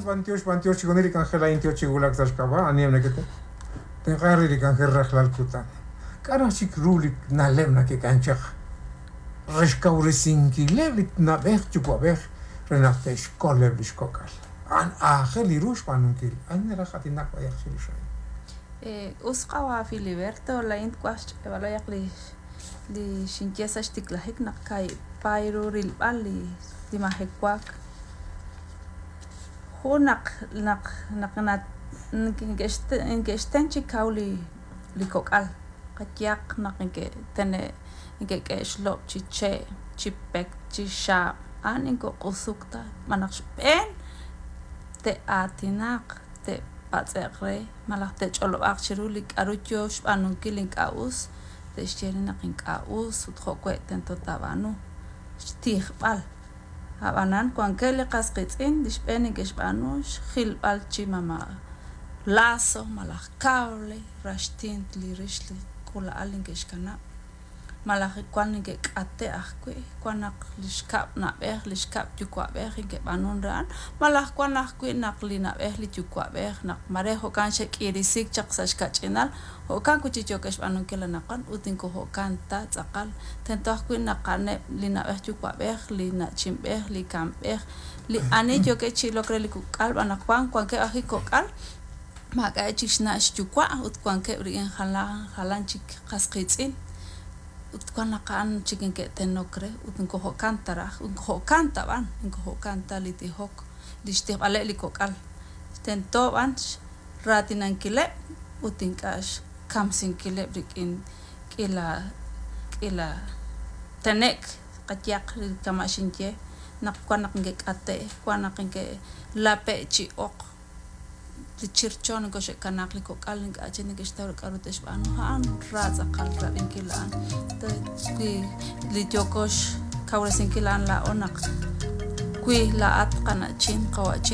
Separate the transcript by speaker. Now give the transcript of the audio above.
Speaker 1: B'antiox, b'antiox chixjunil li k'anjel a'in yoo chi wulak sa' xk'ab'a' aniheb' neke'tenq'ank re li k'anjel rajlal kutan. K'a' raj chik ru li na'leb' nakek'am chaq re xkawresinkileb' li na'b'ej yuwa'b'ej re naq te'xkoleb' lix kok'al? A'an aajel li ru xb'aanunkil. Ani naraj aatinak b'ayaq chirix a'in?
Speaker 2: Us qawa' Filiberto, laa'in twaj xch'e'b'al li li xinye sa' xtiklajik naq kaahib' paay ru rilb'al li li majewaak. Jun naq naq naq neke'xten chi kaw li li kok'al, qayehaq naq neke'tene' neke'k'e' xlob' chi che', chi pek, chi xaab', a'an inkoq'usuk ta, xb'aan naq xb'een te'aatinaq, te'patz'e'q re malaj te'ch'olob'aaq chiru li k'a'ru yoo xb'aanunkil ink'a' us, te'xye re naq ink'a' us ut jo'we' tento taab'aanu, xtijb'al. Ab'anan wankeb' li qas qiitz'in li xb'een neke'xb'aanu xjilb'al chi mama' lazo malaj cable raxtint li rix li k'uula'al neke'xkanab', malaj wan neke'k'ate' ajwi', wan naq li xkab' na'b'ej, li xkab' yuwa'b'ej neke'b'aanun re a'an, malaj wan ajwi' naq li na'b'ej li yuwa'b'ej naq mare jo'kan xe'k'iirisiik chaq sa' xkach'inal, jo'kan wi' chik yookeb' xb'aanunkil anaqwan ut inko jo'kan ta tz'aqal. Tento ajwi' naq a'aneb' li na'b'ej yuwa'b'ej, li na'chinb'ej, li kamb'ej, li ani yookeb' chi ilok re li kok'al b'an naq wan wankeb' ajwi' kok'al maak'a'eb' chik xna' xyuwa' ut wankeb' rik'in jalan jalan chik qas qiitz'in ut wan naq a'an chik neke'tenok re ut inko jo'kan ta raj, inko jo'kan ta b'an, inko jo'kan ta li tijok, li xtijb'aleb' li kok'al. Tento b'an raatinankileb' ut ink'a' xkamsinkileb' rik'in k'iila k'iila tenek' qayehaq kama' xinye naq wan naq neke'k'ate', wan naq neke'lape' chi oq, li chircho neke'xe'kanaaq li kok'al ink'a' chik neke'xtaw k'a'ru te'xb'aanu, a'an ra tz'aqal rab'inkil a'an. Wi li yooko xkawresinkil a'an laa'o naq wi laa'at qana'chin, qawa'chin.